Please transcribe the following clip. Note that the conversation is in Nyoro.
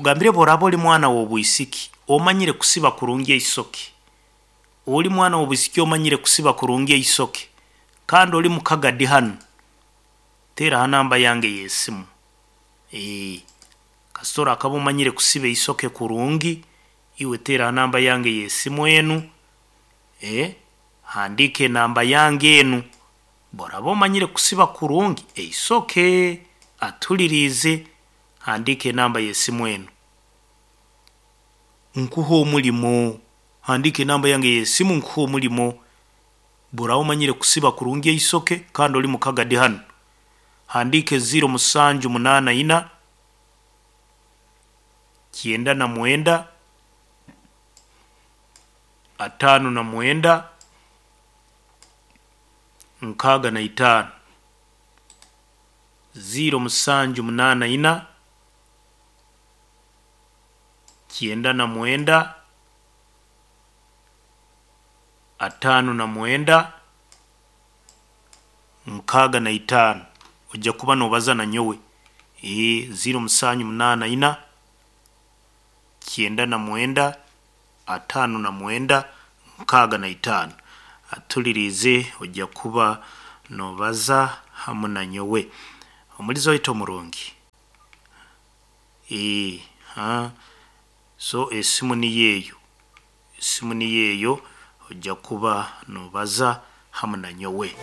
Nkugambire, bworaba oli mwana w'obwisiki omanyire kusiba kurungi eisoke, oli mwana w'obwisiki omanyire kusiba kurungi eisoke, kandi oli mu Kagadi hanu, teera ha namba yange y'esimu. Kasita orakaba omanyire kusiba eisoke kurungi, iwe teera ha namba yange y'esimu enu, handiika enamba yange enu, obu oraaba omanyire kusiba kurungi eisoke, atuhuliriize, handiika enamba y'esimu enu, nkuhe omulimo, handiika enamba yange ey'esimu nkuhe omulimo, obu oraaba omanyire kusiba kurungi eisoke kandi ori mu Kagadi hanu, handiika 0784, 99, 59, 65, 0784, 99, 59, 65, ojya kuba nobaza nanyowe, 0784, 99, 59, 65, atuhuliriize ojya kuba nobaza hamu nanyowe. Omulizi waitu omurungi, so esimu niyo eyo, esimu niyo eyo, ojya kuba nobaza hamu nanyowe.